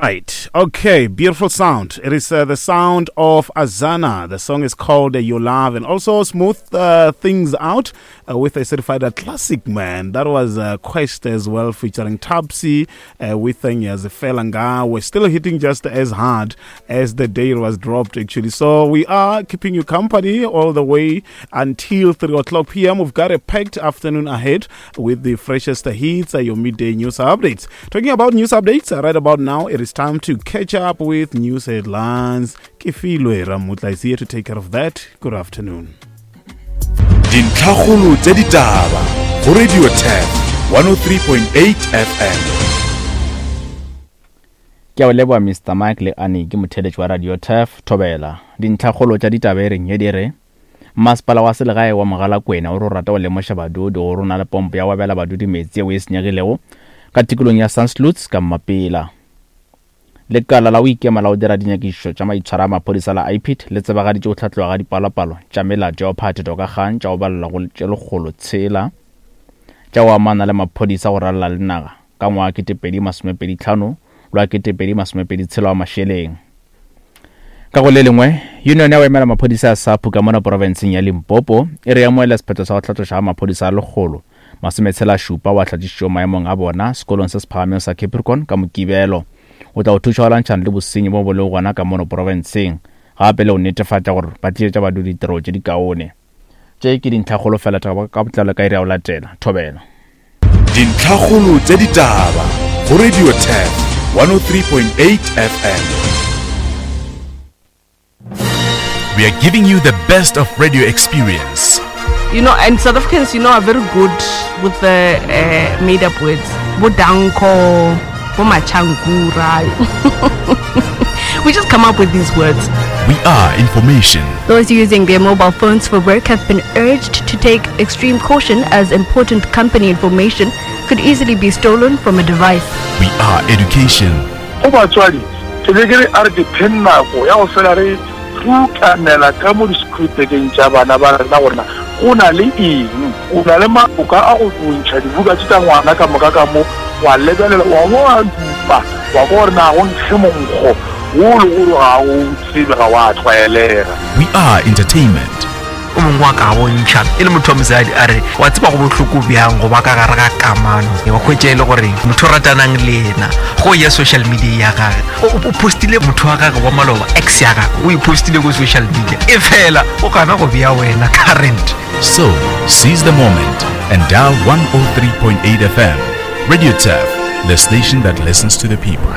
Right. Okay. Beautiful sound. It is uh, the sound of Azana. The song is called uh, Your Love and also smooth uh, things out uh, with a certified uh, classic man. That was uh, Quest as well featuring Tapsy uh, with Nyazifelanga. We're still hitting just as hard as the day it was dropped actually. So we are keeping you company all the way until 3 o'clock p.m. We've got a packed afternoon ahead with the freshest hits, uh, your midday news updates. Talking about news updates, uh, right about now, it is time to catch up with news headlines. Kefilwe Ramutla is here to take care of that. Good afternoon. Dintlhakgolo tša ditaba go Radio Turf 103.8 FM. Ke a o leboga Mister Mike le Annie ke motheeletši wa Radio Turf Thobela. Dintlhakgolo tša ditaba e reng ye di re Masepala wa selegae wa Mogalakwena o re o rata go lemoša badudi gore o na le pompo ya go abela badudi meetse yeo e senyegilego ka tikolong ya Sandsluits ka Mmapela. Lekala la go ikema la go dira dinyakišišo tša maitshwaro a maphodisa la IPID le tsebagaditše go hlatloga ga dipalopalo tša melato ya go phathetwa ka kgang tša go balelwa go tše 106 tša go amana le maphodisa go ralala le naga ka ngwaga 2025 le wa 2026 wa mašeleng. Ka go le lengwe, Union ya go emela maphodisa ya SAPU ka mona porofenseng ya Limpopo e re amoela sephetho sa go hlatloša ga maphodisa a lekgolo masometshela-šupa wa hlatlišitšego maemong a bona sekolong se se phagamego sa Capricorn ka Mokibelo. O tla go thuša go lwantšhana le bosenyi bo bo lego gona ka mono porofenseng gape le go netefatša gore ba tlišetša badudi ditirelo tše dikaone. Tše ke dintlhakgolo fela tša ka botlalo ka iri ya go latela. Thobela. Dintlhakgolo tša ditaba go Radio Turf 103.8 FM. We are giving you the best of radio experience. You know, and South Africans, you know, are very good with the uh, made up words. Bodanko, Bomachankura. we just come up with these words. We are information. Those using their mobile phones for work have been urged to take extreme caution as important company information could easily be stolen from a device. We are education. Go batswadi, ke be ke re a re dipheng nako ya go fela re rutanela ka mo di-school-bekeng tša bana ba rena gore na go na le eng. O na le maboka a go ntšha dibuka tše tša ngwana ka moka ka mo, wa lebelela, wa bo wa dupa, wa kwa gore na go nkge monkgo wo o le gore ga o tsebe, ga wa tlwaelega. We are entertainment. O mongwe wa ka bontšha e le motho wa mosadi a re wa tseba go bohloko bjang go ba ka gare ga kamano wa hwetša e le gore motho o ratanang le yena go ya social media ya gage o postile motho wa gage wa maloba ex ya gage o e postile ko social media e fela o gana go bea wena current So, seize the moment and dial 103.8 FM. Radio Turf, the station that listens to the people.